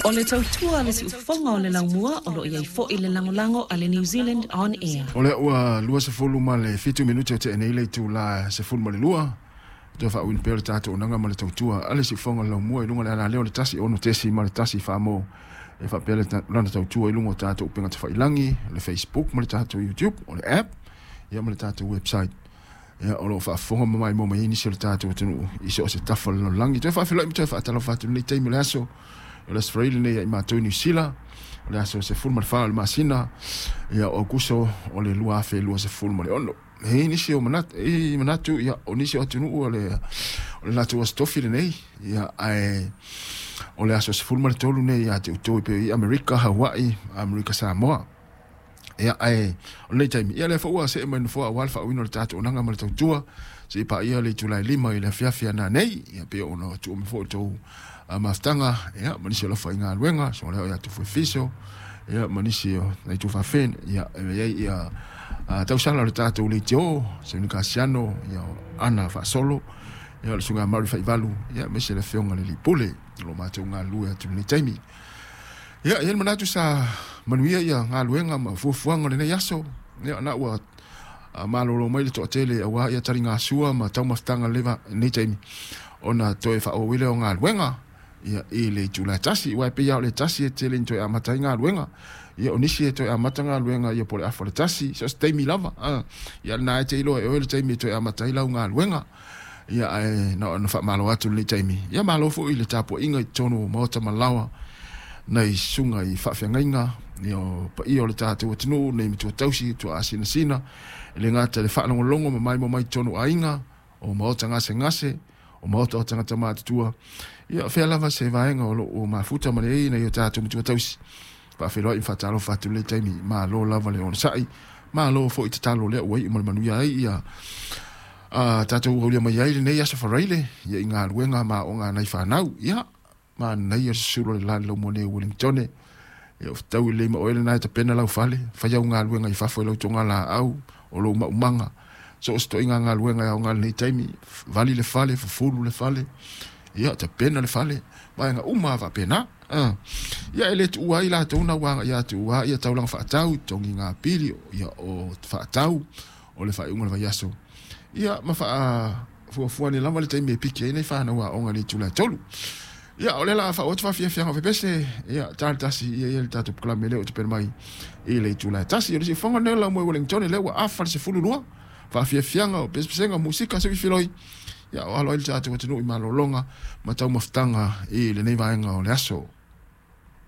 O le tautua a le siufofoga o le laumua o lo o i ai foi le lagolago a le New Zealand On Air. O lea ua 27 minute o tea nei le itula 12, toe faauiina pea o le tatou auaunaga ma le tautua a le siufofoga o le laumua i luga o le alaleo o le 1 6.1 Samoa e faapea lana tautua i luga o tatou upega tafailagi, le Facebook ma le tatou YouTube, o le app ia ma le tatou website. Ia, o lo o faafofoga ma maimoa mai ai nisi o le tatou atunuu i so o se tafa o le lalolagi. Toe faafeiloai ma toe faatalofa atu i lenei taimi o le aso. O le Aso Faraile lenei ia i matou i Niu Sila, o le aso 14 o le masina ia o Aokuso o le 2026. E i ai nisi o manatu, e i manatu ia, o nisi o atunuu o le latou aso tofi lenei, ia, ae o le aso 13 nei ia te outou e pei i Amerika, Hawaii, Amerika Samoa. Ia, ae o lenei taimi, ia lea foi ua see mai nofoa aua le faauiina o le tatou auaunaga ma le tautua, seia paia le itula e 5 i le afiafi ana nei, ia pei ona tuu mai foi o tou mafutaga, ia, ma nisi o lafaigaluega, so lea o ia tufu e fiso, ia, ma nisi o nai tufafen, ia, e i ai ia tausala o le tatou leitio, Sauni Kasiano, ia, Ana Faasolo, ia, o le susuga Mary Faivalu, ia, aemaise le afioga le Lipule, o lo matou galulue atu i lenei taimi. Ia, e i ai le manatu sa manuia ia galuega ma fuafuaga o lenei aso. Ia, na ua malolo mai le toatele aua ia taligasua ma taumafataga lenei taimi ona toe faaauau ai lea o galuega ia i le itula e 1. Aua e pei lava o le 1 e tele ina toe amata ai galuega. Ia, o nisi e toe amata galuega ia po o le afa o le 1, so o se taimi lava. Ia, lena e te iloa e oe le taimi e toe amata ai lau galuega. Ia, ae na ona faamalo atu lenei taimi. Ia, malo foi i le tapuaiga i totonu o maota ma laoa nai susuga i faafeagaiga, ia, o paia o le tatou atunuu, nei matua tausi, tua asinasina, e le gata i le faalogologo ma maimoa mai totonu o aiga, o maota gasegase, o maota o tagata matutua. Ia, fea lava se vaega o lo o mafuta ma le ai nai o tatou matua tausi. Faafeiloai ma faatalofa atu lenei taimi, malo lava le onosai, malo foi tatalo lea ua iu ma le manuia ai ia tatou aulia mai ai lenei aso Faraile ia i galuega ma aoga a nai fanau. Ia, manaia le susulu o le la i le laumua nei o Wellingtone. Ia, o fetaui lelei ma oe lena e tapena lau fale, fai au galuega i fafo i lau togalaau, o lou maumaga, so o se toaiga galuega e aoga i lenei taimi, vali le fale, fufulu le fale, ia, tapena le fale, vaega uma lava faapena. Ia, e le tuua ai latou na ua agai atu aua ia taulaga faatau, totogi pili, ia, o faatau, o le faaiuga o le vaiaso. Ia, ma faafuafua ane lava le taimi e piki ai nei fanau aoga i le itula e 3. Ia, o lea la faaauau atu faafiafiaga o fepese, ia, ta le 1, ia, ia le tatou polokalame lea ua tapena mai i le itula e 1. O le siufofoga lenei o le laumua i Wellington, lea ua afa le 12, faafiafiaga o pesepesega, musika, se filoi, ia, o alo ai le tatou atunuu i malologa ma taumafataga i lenei vaega o le aso.